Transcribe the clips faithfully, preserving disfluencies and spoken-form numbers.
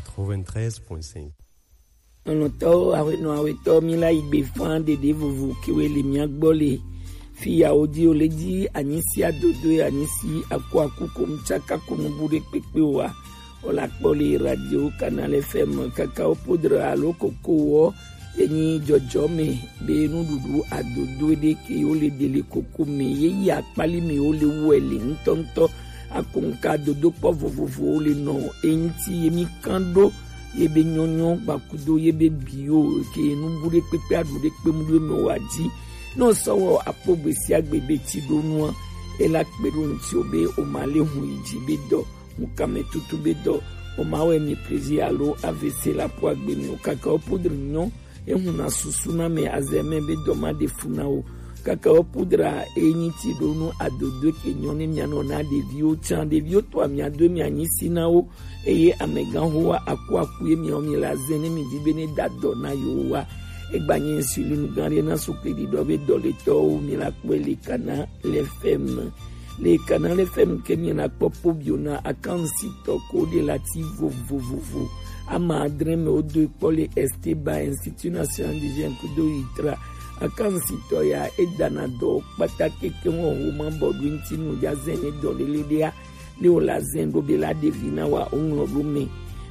Quatre-vingt-treize point cinq. Lɔlɔ̃tɔwo, aƒenɔ awetɔ, mi la yi gbe fã ɖeɖe vovo kewe le mia gbɔ le fi ya wo di o le di anyi si adodo anyi si aku aku kom tsaka ko nubu ɖe kpekpe wa. Wole akpɔ le radio Canal F M kaka wo podra alo koko wɔ enyi dzɔdzɔme be nuɖuɖu adodo ɖe ke wo le ɖe le koko me ye yi akpali me wo le wɔ le ŋutɔŋutɔ akonka dodokpɔ vovovowo le nɔ eŋuti ye mi kan ɖo ye be nyɔnyɔ gbakudo ye be bio ke nubu ɖe kpekpe aɖu ɖe kpemu ɖo me wa dzi. Ne wosɔ wɔ akpɔ gbesiagbe be tsi ɖo nua, ela kpe ɖo ŋuti wo be woma le hu yi dzi be dɔ, ŋukame tutu be dɔ, woma wɛ mi plaisir alo A V C la po agbe mi o kaka wo podri nyɔ, ehu na susu na me azeme be dɔ ma ɖe fu na wo. Kaka wo podra enyi tsi ɖo nu adodo ke nyɔ ne mia nɔ na ɖeviwo tsan. Ɖeviwo to amia do mia nyi si na wo. Eye amegãxowa akuaku ye miawo mi la zẽ ne mi di be ne da dɔ na yewo wa. Egba nye insuline gã ɖe na sukli ɖiɖɔ be dɔletɔwo mi la kpɔe le Kana le F M. Le Kana le F M ke mi la kpɔ pobio na akansitɔ ko ɖe la ti vovovovo. Ama adre me wo do kpɔ le Esteba Institut National du Jeune kudo itra. Akansitɔ ya edana dɔ kpata keke wo ho ma bɔ ɖo ŋuti nu ja zẽ ne dɔ lele ɖea. Ne wòle azẽ ɖo be la ɖevi na wa woŋlɔ ɖo me.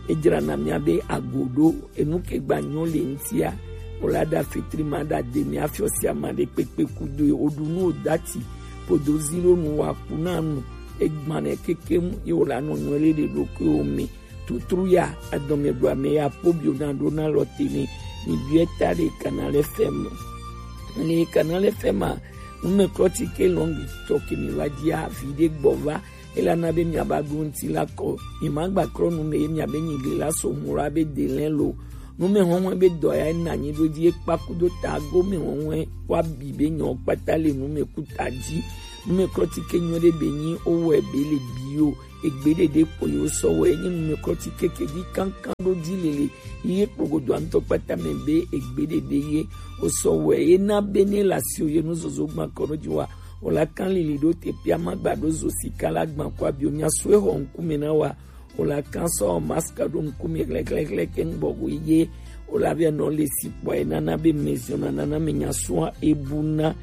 Edzrana mia be ago ɖo enu ke gba nyɔ le ŋutia. Wòle aɖa fitri ma ɖa de mia fiɔ sia ma ɖe kpekpe kudo ye woɖu nu wòdati podo zi ɖo nu wa ku na nu. Egbanɛ kekem ye wòle anɔ nyɔ le ɖe ɖokuiwo me. Tutru ya adɔme ɖo ame ya pobio na ɖo na lɔ te ne mi biɛ ta ɖe Kana le F M. Le Kana le F M a, numeklɔti ke lɔngi tɔ ke mi va dia vi ɖe gbɔ va. Ela na be miaba ɖo ŋuti la kɔ. Mi ma gba klɔ nu me ye miabe nyigli la so mu la be de lɛ lo. Nu me hɔnhɔn be dɔ ya na nyi ɖo di ekpa kudo ta go me hɔnhɔn wa bi be nyɔ kpata le nu me ku ta dzi. Nu me klɔ ti ke nyɔ ɖe be nyi o wɛ be le bi o. Egbe ɖeɖe kpo ye wosɔ wɛ enyi nu me klɔ ti ke ke di kankan ɖo di lele. Ye kpogodo antɔ kpata me be egbe ɖeɖe ye wosɔ wɛ ye na be ne la si o ye nu zozo gba kɔ ɖo di wa. Wòle kan lili ɖo te pia ma gba ɖo zo sika la gban kɔ abio mia sue xɔ ŋkume na wa. Wòle kan sɔ mask ɖo ŋkume xlexlexle ke ŋgbɔ go ye. Wòle avia nɔ le si kpɔ ye nana be maison na nana me nya sua ebu na.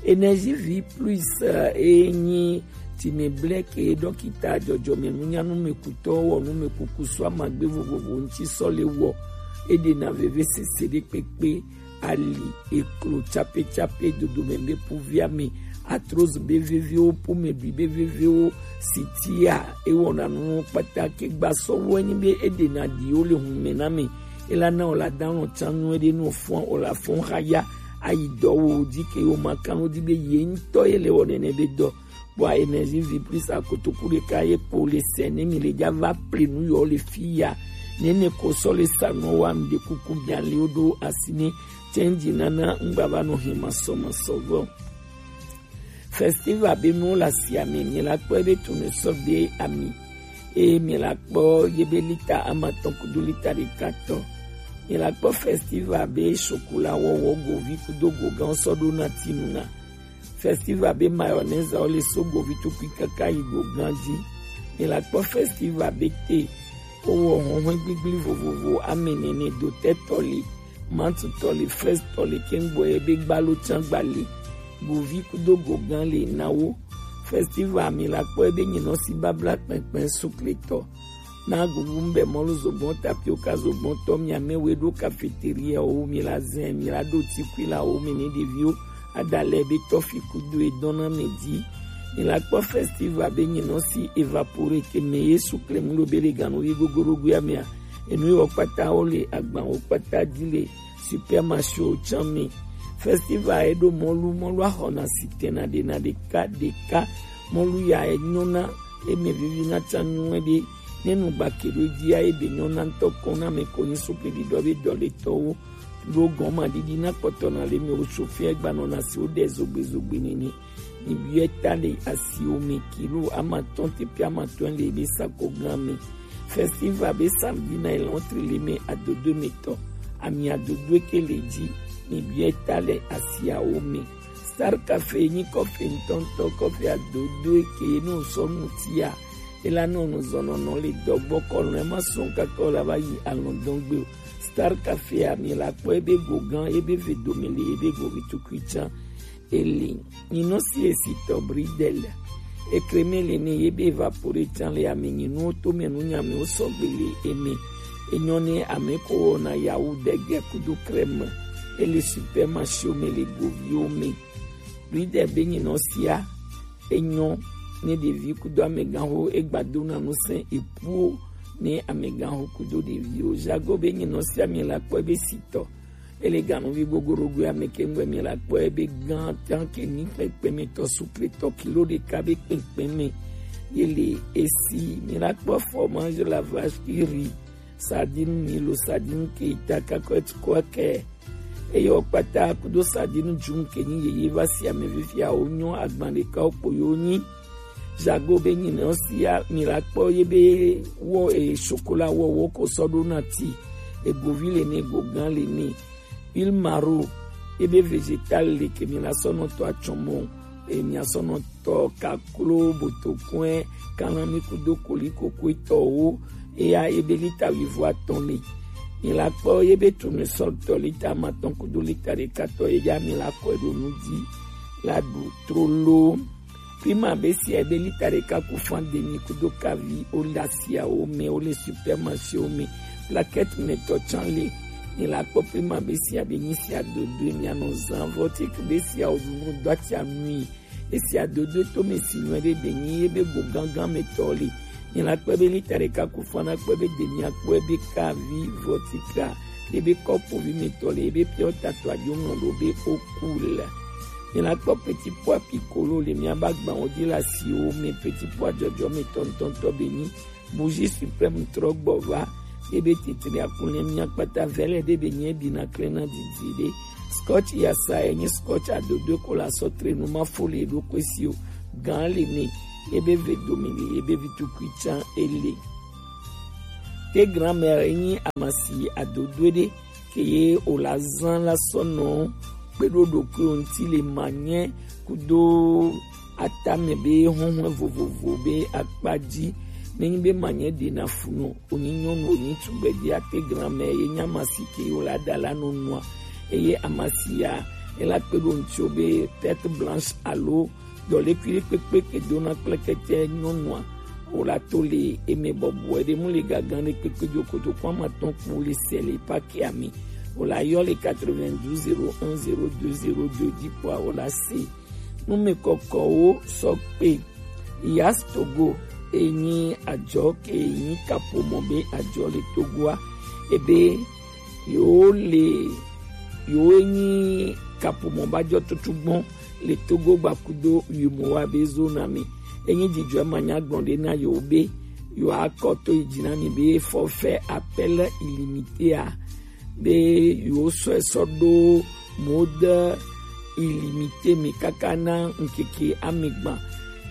Énergie vie plus, eh, enyi ti me ble ke dɔkita dzɔdzɔme nunya nu me kutɔ wɔ nu me kuku sɔ amagbe vovovo ŋti sɔ le wɔ. Eɖe na veve sese ɖe kpekpe. Ali, eklo, tsape tsape, dodome be puvia me, arthrose be vevewo, pomedui be vevewo, sitia, ewɔna nuwo kpata ke gba sɔ wɔ enyi be eɖena ɖiwo le hume na me. Ela na wòle adanɔ tsan nyuie ɖe nu fɔn wòle afɔn xa ya ayi dɔ wo di ke wo ma kan wo di be ye ŋutɔ ye le wɔ nene be dɔ. Bua Énergie vie plus akotoku ɖeka ye kpo le sɛ ne mi le ja va ple nu yɔ le fi ya. Nene ko sɔ le sa nɔ wa mi ɖe kuku bia le wo ɖo asi ne. Change nana ŋgba va nɔ hɛn masɔ masɔ vɔ. Festival be nuwo le asia me, mi la kpɔ ebe tournesol be ami. Eye mi la kpɔ ye be lita amatɔn kudo lita ɖeka tɔ. Mi la kpɔ festival be chocolat wɔwɔ govi kudo gogã sɔ ɖo na tinu na. Festival be mayonnaise wo le so govi tukui kaka yi gogã dzi. Mi la kpɔ festival be te wowɔ hɔnhɔn gbigblí vovovo ame nene, dotɛtɔ li, mantutɔ li, frɛsitɔ li, kɛŋgbɔ ye be gbalo tsã gba li, govi kudo gogã li na wo. Festival mi la kpɔ ye be nyinɔ si babla kpɛnkpɛn sukletɔ. Na gugu ŋbɛ mɔlu zogbɔn tapioka zogbɔn tɔ mi ame we ɖo cafeteria wo mi la zɛn mi la ɖo tikui la wo mi ni ɖeviwo. Adalɛ be tɔfi kudo e dɔn na mɛ di. Mi la kpɔ festival be nyinɔ si évapore ke mɛ ye sukle mu ɖo be le ganu yi gogoro gui amea. Enu yi wɔ kpata wo le agban wo kpata di le supermarché wo tsã mi. Festival e ɖo mɔlu mɔlu axɔna si tɛna ɖe na ɖeka ɖeka. Mɔlu ya e nyɔna eme vivi na tsã nyuie ɖe. Ne nu gbake ɖo dia e be nyɔna ŋutɔ kɔn na me ko nyi sukle ɖiɖɔ be dɔ le tɔwo. Ɖo gɔma ɖiɖi na kpɔtɔ na le mi wo tso fia gbanɔ na si wo ɖe zogbe zogbe nene. Mi biɛ ta le asiwo me kilo amatɔn te pe amatɔn le be sako gan me. Festival be samedi na ilɔntri le me adodo me tɔ. Ami adodo ke le dzi. Mi biɛ ta le asiawo me. Star Cafe nyi kɔfe ŋutɔŋutɔ, kɔfe adodo ke no sɔ nutia. Ela nɔ nuzɔnɔnɔ le dɔgbɔ kɔlɔn ema sɔn kaka o la va yi alɔndɔn gbe o. Star Cafe a, mi la kpɔ ebe go gan, ebe ve domi le, ebe go vi tukui can. Ele nyinɔ si esi tɔ bridel. Ekreme le ne yebe evapore can le ame nyinu to me nu nyame o sɔgbe le eme. Enyɔ ne ame ko na yawu dege kudo kreme. Ele supermarché o me le govi o me. Bridel be nyinɔ sia. Enyɔ ne ɖevi kudo amɛganxo egba dona nusẽ epuo ne amɛganxo kudo ɖeviwo. Jago be nyinɔ sia mi la kpɔ ebe sitɔ. Ele ganuvi gogorogo ame ke ŋgbe mi la kpɔ ebe gan tan ke ni kpɛkpɛ me tɔ sukle tɔ kilo ɖeka be kpɛkpɛ me. Ye le esi mi la kpɔ fromage la vache qui rit. Sardine mi lo sardine ke ita kakɔt kɔkɛ. Eye wo kpata kudo sardine jum ke nyi yeye va si ame fifia wo nyɔ agban ɖeka wo kpo yo nyi. Jago be nyinɔ sia mi la kpɔ ye be wɔ e chocolat wɔ wo ko sɔ ɖo na ti. Egovi le ne, gogan le ne. Huile maro ye be végétal le ke mi la sɔ nɔ tɔ atsɔmɔ. E mi asɔ nɔ tɔ kaklo, botokuɛ, kalami kudo koliko kuetɔwo. Eya ebe lita wuivo atɔn le. Mi la kpɔ ye be tournesol tɔ lita amatɔn kudo lita ɖeka tɔ ye ya mi la kɔe ɖo nu di la ɖu trolo. Prima be sia ebe lita ɖeka ku fan demi kudo kavi o la sia wo me, wo le supermarché wo me. Plaquette me tɔ can le. Mi la kpɔ prima be sia be nyi sia dodo mi anɔ zan vɔtik be sia o ɖu nu do atia nui. Esia dodo to me si nyuie ɖe be nyi ye be go gangan me tɔ le. Nyi la kpɛ be lita ɖeka ku fan na kpɛ be de mia kpɔe be kavi vɔtika ye be kɔpu vi me tɔ le ye be piɔ tato adzo ŋlɔ ɖo be oku le. Nyi la kpɔ petit pois piccolo le mia ba gban wo di la si wo me petit pois dzɔdzɔ me tɔntɔntɔ be nyi. Bougie suprême trɔ gbɔ va. Ebe titri akunle mia kpata vɛlɛ de be nye bi na kle na didi de. Scotch yasa enyi scotch adodo ko la sɔ tre nu ma fo le ɖo kwe si o. Gan le ne. Ebe ve domi le, ebe vi tukui can ele. Te grand-mère enyi amasi adodo de. Ke ye o la zan la sɔ nɔ kpe ɖo ɖokuiwo ŋuti le manyɛ kudo atame be huhlɔ̃ vovovo be akpa dzi. Nenyi be manyɛ ɖe na fu nɔ, o nyi nyɔnu, o nyi tugbedze, ate grand-mère ye nya amasi ke ye o la da la nɔ nua. Eye amasia ye la kpe ɖo ŋuti o be perte blanche alo dɔlékui ɖe kpekpe ke dona kplekete nyɔnua, o la to le eme bɔbɔe ɖe mu le gagan ɖe kpekpe dzo kotoku amatɔn kpo le sɛ le paki ame. O la yɔ le quatre-vingt-douze zéro un zéro deux zéro deux di kpoa o la se. Nume kɔkɔwo sɔ kpe. Yas Togo enyi ajɔ ke enyi kapomɔ be ajɔ le Togoa. Ebe yewo le yewo enyi kapomɔ ba jɔ tutu gbɔn le Togo gbakudo yimowa be zona me. Enyi jijɔ ma nya gbɔn ɖe na yewo be yewo akɔ to yi dzi na mi be forfait appel illimité a be yewo sɔe sɔ ɖo mode illimité me kaka na ŋkeke amegban.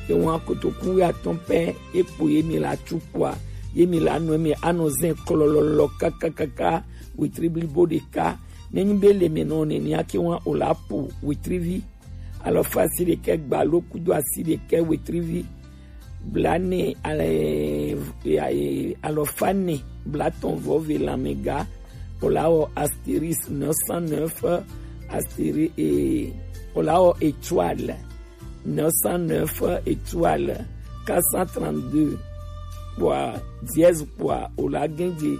Ewa kotoku atɔn pɛ ekpo ye mi la tu kpoa ye mi la nɔ eme anɔ zɛn klɔlɔlɔ kakakaka wetri blibo ɖeka. Nenyi be le me nɔ nenia ke wa o la po wetrivi. Alɔfa asi ɖekɛ gbalo kudo asi ɖekɛ wetrivi. Blanɛ alɔfa nɛ blatɔn vɔ ve lanmɛga. O la wɔ astérisque neuf cent neuf astéri e o la wɔ étoile neuf cent neuf étoile quatre cent trente-deux kpoa dièse kpoa o la gɛnje.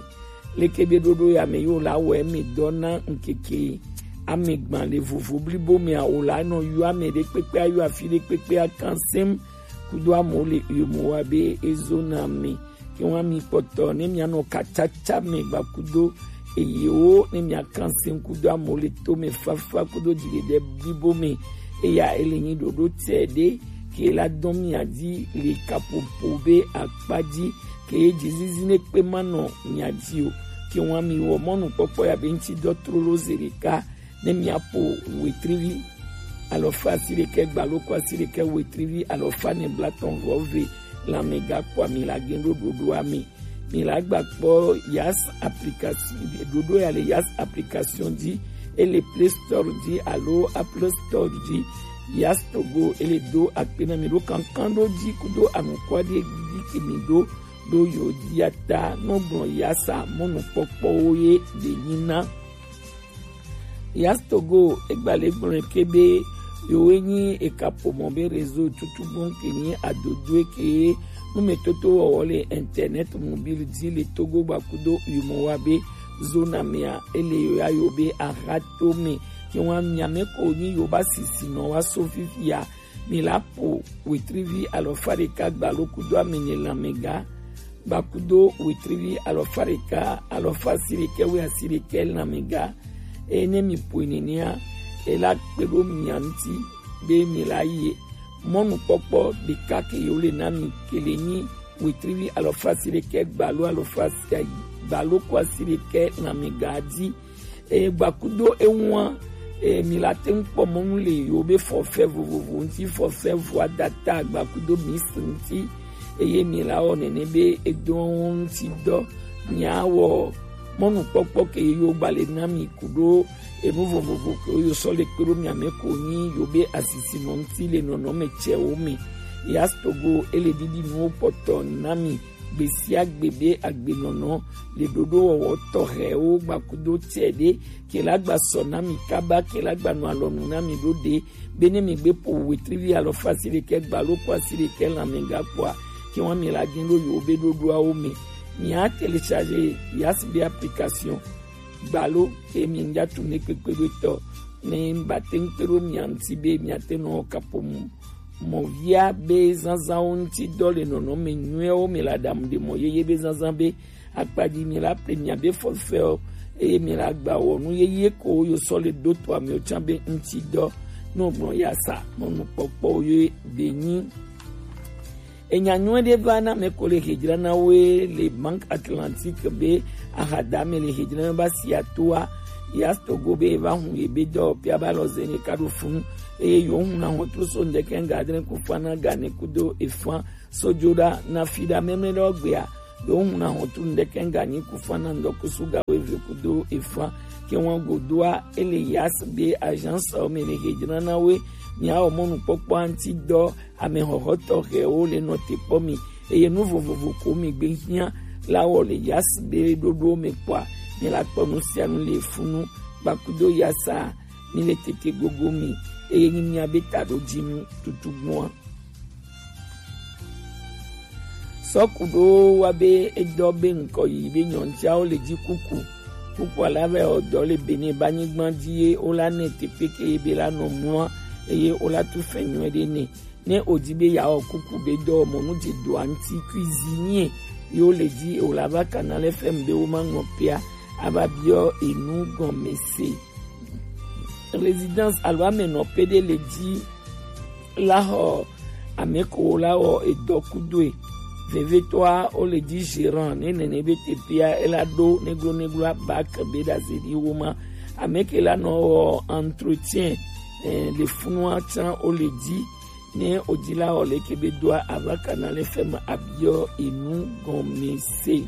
Leke be ɖoɖo ya me yo la wɔ eme dɔ na ŋkeke amegban le vovo blibo mea o la nɔ yɔ ame ɖe kpekpe ayɔ afi ɖe kpekpe akansem kudo amewo le uyo mo wa be ezo na me. Ke wa mi kpɔtɔ ne mia nɔ katsatsa me gba kudo eyewo ne mia kanse ŋku do amewo le to me fafa kudo dziɖeɖe blibo me. Eya ele nyi ɖoɖo tɛ ɖe ke la dɔn mia dzi le kapopo be akpa dzi ke ye dzizizi ne kpe ma nɔ mia dzi o. Ke wa mi wɔ mɔnukpɔkpɔ ya be ŋtsi dɔ trolo ze ɖeka ne mia po wetrivi alɔfa asi ɖekɛ gbalo ko asi ɖekɛ wetrivi alɔfa ne blatɔn vɔ ve lanmɛga kpɔa mi la gen ɖo ɖoɖoa me. Mi la gba kpɔ Yas application, ɖoɖo ya le Yas application dzi, ele Play Store dzi alo Apple Store dzi. Yas Togo, ele do akpe na mi ɖo kankan ɖo ji kudo anukwa ɖe gigi ke mi ɖo ɖo yo dia ta nɔ gblɔ yasa mɔnukpɔkpɔwo ye ɖe nyi na. Yas Togo, egbale gblɔ ke be yowe nyi eka pomɔ be réseau tutu gbɔn ke nyi adodo ke nume toto wɔwɔ le internet mobile di le Togo gbakudo yumɔ wa be zona mea ele yo ya yo be aha to me ke wa miame ko nyi yo ba sisi nɔ wa so fifia. Mi la po wetrivi alɔfa ɖeka gbalo kudo amene lamɛga gbakudo wetrivi alɔfa ɖeka alɔfa asiɖekɛ we asiɖekɛ lamɛga. Eye ne mi poe nenea, ela kpe ɖo mia ŋuti be mi la yi mɔnukpɔkpɔ ɖeka ke yewo le na mi ke le nyi wetrivi alɔfa asiɖekɛ gbalo alɔfa asi- gbalo ko asiɖekɛ lamɛga di. Eye gbakudo eŋua, e, mi la te ŋu kpɔ mɔnu le yewo be forfait vovovo ŋuti, forfait voix data gbakudo mix ŋuti. Eye mi la wɔ nene be edo ŋuti dɔ. Mia wɔ mɔnukpɔkpɔ ke yo gba le na mi kudo enu vovovo ke yo sɔ le kpe ɖo mia me ko nyi yo be asisinɔ ŋuti le nɔnɔme cɛwo me. Yas Togo ele ɖiɖi nuwo kpɔtɔ na mi. Gbe sia gbe be agbenɔnɔ le ɖoɖo wɔwɔ tɔxɛwo gbakudo cɛ ɖe ke la gba sɔ na mi kaba ke la gba nɔ alɔnu na mi ɖo ɖe be ne mi gbe po wetrivi alɔfa asiɖekɛ gbalo ko asiɖekɛ lamɛga kpoa ke wa mi la gin ɖo yewo be ɖoɖoawo me. Mi a télécharger Yas be application gbalo ke mi ŋdza tu ne kpekpe ɖo tɔ ne ba te ŋu kpe ɖo mia ŋuti be mia te nɔ kapo mu mɔvia be zazãwo ŋuti dɔ le nɔnɔme nyuiwo me le aɖaŋu ɖe mɔ yeye be zazã be akpadzi mi la ple mia be forfait eye mi la gba wɔ nu yeye ko yo sɔ le do to amewo tsã be ŋuti dɔ. Ne gblɔ ya sa mɔnukpɔkpɔ ye be nyi. Enya nyuie ɖe va na me ko le hedzra na woe le Banque Atlantique be ahadame le hedzra na ba sia toa. Yas Togo be va hun ye be dɔ pia ba lɔ zene ka ɖo funu eye yo hun na hɔntru so ŋdɛkɛ ŋga adre ku fa na ga ne kudo efan sojoɖa na fi ɖa mɛmɛ ɖe gbea. Yo hun na hɔntru ŋdɛkɛ ŋga nyi ku fa na ŋdɔkusu ga wo eve kudo efan ke wan godoa ele Yas be agence o me le hedzra na woe. Mia wɔ mɔnukpɔkpɔ ŋuti dɔ ame xɔxɔ tɔxɛwo le nɔ te kpɔ mi eye nu vovovo ko mi gbe hiã la wɔ le Yas be ɖoɖo me kpɔa mi la kpɔ nu sia nu le funu gbakudo Yasa mi le tete gogo mi eye nyi mia be ta ɖo dzi nu tutu gbɔa. Sɔku ɖo wa be edɔ be ŋkɔ yi be nyɔntiawo le dzi kuku kuku ala vɛ ɔdɔ le bene ba nyigba dzi ye wo la ne teƒe ke ye be la nɔ mlɔa eye wo la tu fɛ nyuie ɖe ne. Ne o di be ya wɔ kuku be dɔ mɔnu dze doa ŋuti cuisinier yo le dzi o la va kana le fɛm be wo ma ŋɔ pia ava biɔ enu gɔme se. Résidence alo amenɔƒe ɖe le dzi la xɔ ame ko la wɔ edɔ kudoe. Vevitɔa wo le dzi gérant ne nene be teƒea ela ɖo neglo neglo abak be ɖazeɖi wo ma. Ame ke la nɔ wɔ entretien eh, le funua tsã wo le dzi ne o dzi la wɔ le ke be doa ava kana le fɛm abiɔ enu gɔme se.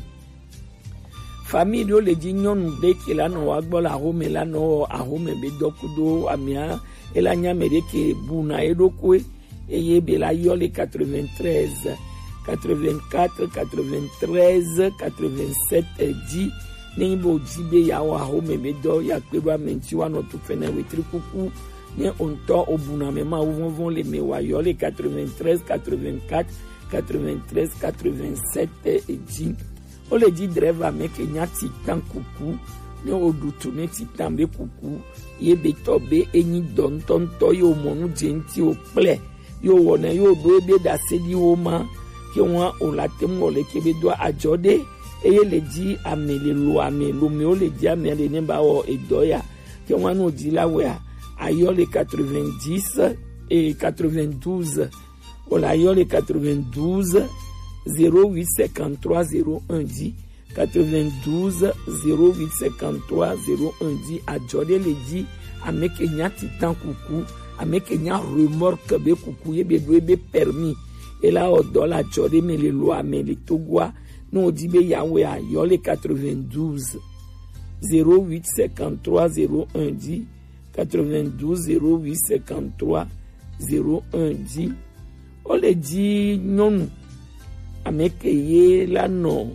Famille ɖewo le dzi nyɔnu ɖe ke la nɔ wa gbɔ le axome la nɔ wɔ axome be dɔ kudo amea ela nya ame ɖe ke bu na ye ɖokoe eye be la yɔ le quatre-vingt-treize, quatre-vingt-quatre, quatre-vingt-treize, quatre-vingt-sept dzi. Ne nyi be o dzi be ya wɔ axome be dɔ ya kpe ɖo ame ŋuti wa nɔ tu fɛnɛ wetri kuku ne o ŋutɔ o bu na ame ma wo vɔvɔn le me wa yɔ le quatre-vingt-treize, quatre-vingt-quatre, quatre-vingt-treize, quatre-vingt-sept dzi. Wo le dzi dreva me ke nya titan kuku. Ne wo ɖu tu ne titan be kuku ye be tɔ be enyi dɔ ŋutɔŋutɔ ye wo mɔ nu dze ŋuti wo kple ye wo wɔna ye wo ɖo ebe ɖase ɖi wo ma ke wa o la te mu wɔ le ke be do adzɔ ɖe eye le dzi ame le lo ame lo me wo le dzi ame le ne ba wɔ edɔ ya ke wa no dzi la wea ayɔ le quatre-vingt-dix et quatre-vingt-douze. Wala yɔ le quatre-vingt-douze zéro huit cinquante-trois zéro un dix, quatre-vingt-douze zéro huit cinquante-trois zéro un dix. Adzɔ ɖe le dzi ame ke nya titan kuku, ame ke nya remorque be kuku ye be ɖo ebe permis. Ela wɔ dɔ la adzɔ ɖe me le lo ame le Togoa. Ne o di be ya wea yɔ le quatre-vingt-douze zéro huit cinquante-trois zéro un dix, quatre-vingt-douze zéro huit cinquante-trois zéro un dzi. Wo le dzi nyɔnu ame ke ye la nɔ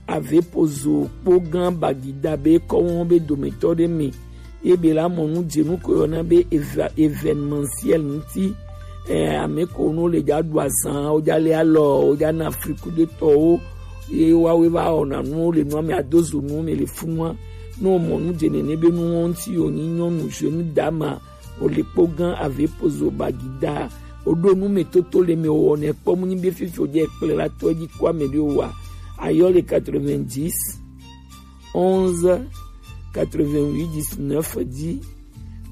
Avepozo kpo gã Bagida be kɔwɔn be dometɔ ɖe me ye be la mɔ nu dzenu ko yɔna be eva- événementiel ŋuti. Eh, ame ko nu le dza ɖu azan, wo dza le alɔ, wo dza na frikudetɔwo, ye woawoe va wɔna nuwo le nua me, adozo nuwo me le funua. Ne womɔ nu dze nene be nuwo ŋuti, wonyi nyɔnu, jeune dame, wòle kpo gã Avepozo Bagida. Woɖo nu me toto le me wɔnɛ kpɔ mu nyi be fifi wòdze kple la tɔ dzi kɔ ame ɖe wa. Ayɔ le quatre-vingt-dix, onze, quatre-vingt-huit, dix-neuf dzi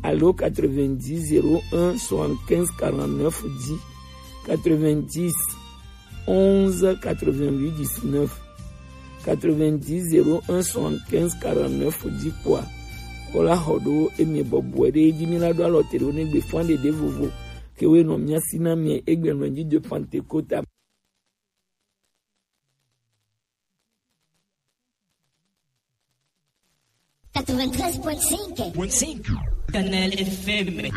alo quatre-vingt-dix, zéro un, soixante-quinze, quarante-neuf dzi. Quatre-vingt-dix, onze, quatre-vingt-huit, dix-neuf, quatre-vingt-dix, zéro un, soixante-quinze, quarante-neuf dzi kpɔa, wola xɔ ɖo emi bɔbɔe ɖe edzi. Mi la ɖo alɔ te ɖo ne gbe fã ɖeɖe vovo ke we nɔ mia si na mi egbe nɔ dzi de Pentecôte. Quatre-vingt-treize point cinq. Point cinq. Kanal F M.